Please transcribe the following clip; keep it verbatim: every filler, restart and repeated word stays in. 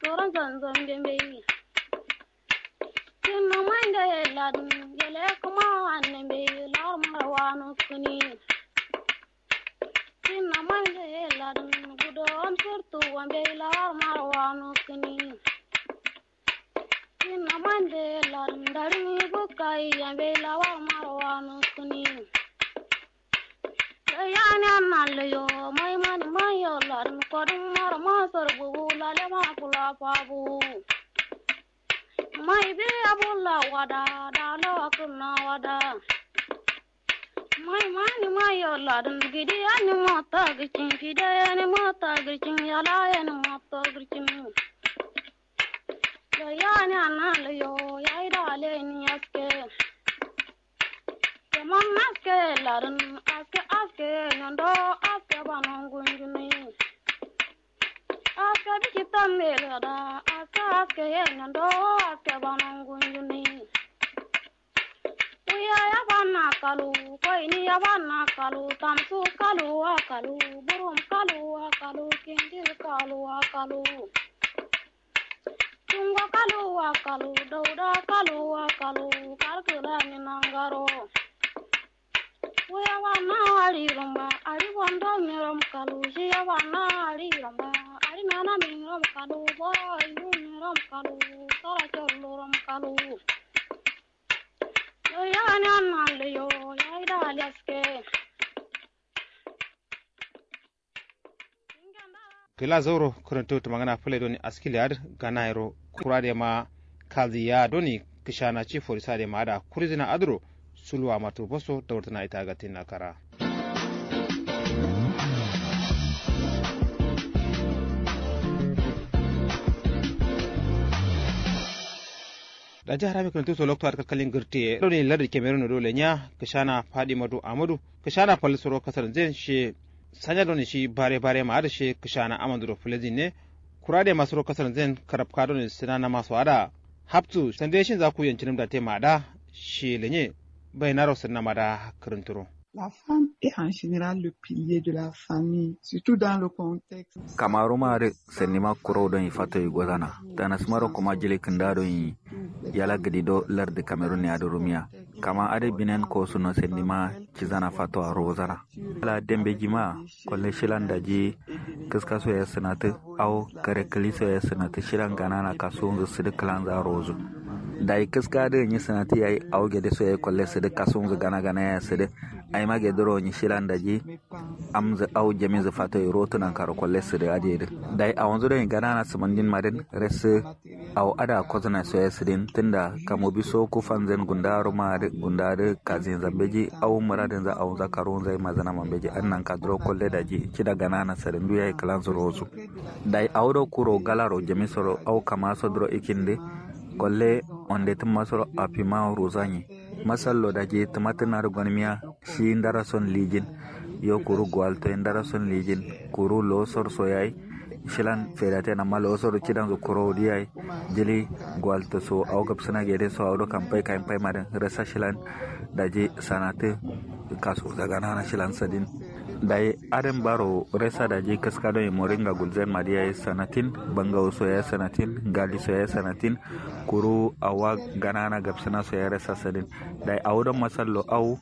Soron zanzon bembei. Kinna mande ladin yele kuma anne mbe lar marwanu kini. Kinna mande ladin gudo am surtu wambe lar marwanu kini. Kinna mande ladin darin bukai yambe lar marwanu kini. Yayani anna leyo mai mani mayo ladin kodin mara masar bubu lale ma kula fabu. Mai bi abulla wada da lawa kunna wada. Mai mani mayo ladin gidi ani mata gicin fide ani mata gicin yala ani mata gicin. Yayani anna leyo yayi da leni aske. Keman aske ladin aske aske nyondo aske banon gunjuni. Aske biki tambe lada aske aske ye nyondo aske banon gunjuni. Uya ya banna kalu koini ya banna kalu tamsu kalu wa kalu burum kalu wa kalu kindil kalu wa kalu. Tungo kalu wa kalu dauda kalu wa kalu karkula ni nangaro. Uya wa na ari romba ari bondo mi rom kalu shiya wa na ari romba ari nana mi rom kalu boro ayu mi rom kalu sara chollu rom kalu. Yo ya ni anna leyo ya ida leske. Kǝla zauro kǝrǝntǝ tǝmangǝna fǝle doni askile adǝ ganayero kura de ma kalzǝ ya doni kǝshana ci forisa de ma adǝ kurizǝna adǝro suluwa mato boso daurtǝna ita gatin na kara. Daji harami kǝrǝntǝ so lokto adǝ kalkalin gǝrtǝ ye doni lardǝ kemerun do lenya kǝshana fadimatu amadu kǝshana fal suro kasar nzen she. Sanya doni shi bare bare ma adǝ she kǝshana amanduro fǝlezin ne. Kura de masuro kasar nzen karabka doni sǝna nama so adǝ haptu sande shin za ku yancinǝm da te ma adǝ shi lenye. Bai naro sǝna ma da kǝrǝnturo. La femme est en général le pilier de la famille, surtout dans le contexte. Kamaruma adǝ sandima kuro don ifato igozana tanasmaro kuma jili kǝnda don i yala gǝdi do lardǝ kamerun ne adǝ rumiya. Kama adǝ binen kosuno sandima cizana fato a rozana. Ala dembe jima kolle shilan daji kǝska so ya sǝnatǝ. Awo kare kǝli so ya sǝnatǝ shilan ganana kasunzǝ sǝdǝ kǝlanza rozu. Dayi kǝska adǝ nyi sǝnatǝ yayi awo gede so yayi kolle sǝdǝ kasunzǝ gana gana ya sǝdǝ. Ayima gedǝ ro nyi shilan daji amzǝ awo jaminzǝ fato yi rotu nankaro kolle sǝdǝ adǝ yedǝ. Dayi awonzǝ do nyi ganana sǝmandin madǝn resǝ. Awo adǝ akozǝna so ya sǝdin tunda kamobi so kufanzǝn gunda ruma adǝ gunda adǝ kazin zambeji awo muradǝnza awonza karunza yi mazǝna mambeji adǝ nanka duro kolle daji cida ganana sǝdǝ ndu yayi kǝlanzǝ rozu. Dayi awo do kuro galaro jami soro awo kama so duro ikindǝ kolle onde tǝmma soro afima rozanyi. Masallo daji tǝmatǝna dǝ gonmiya shi ndara son lijin. Yo kuru guwalto ye ndara son lijin. Kuru losor so yayi shilan fedaten amma losor cidanzu kuro diyayi. Jili guwalto so awo gabsǝna gede so awo do kampai kayin pai madǝn resa shilan. Daji sanatǝ kasu zaganana shilan sadin. Dayi adǝn baro resa daji kǝska don imoringa gulzen madiya ye sanatin. Bangawo so yayi sanatin. Gali so yayi sanatin. Kuru awa ganana gabsǝna so yayi resa sadin. Dayi awo don masallo awo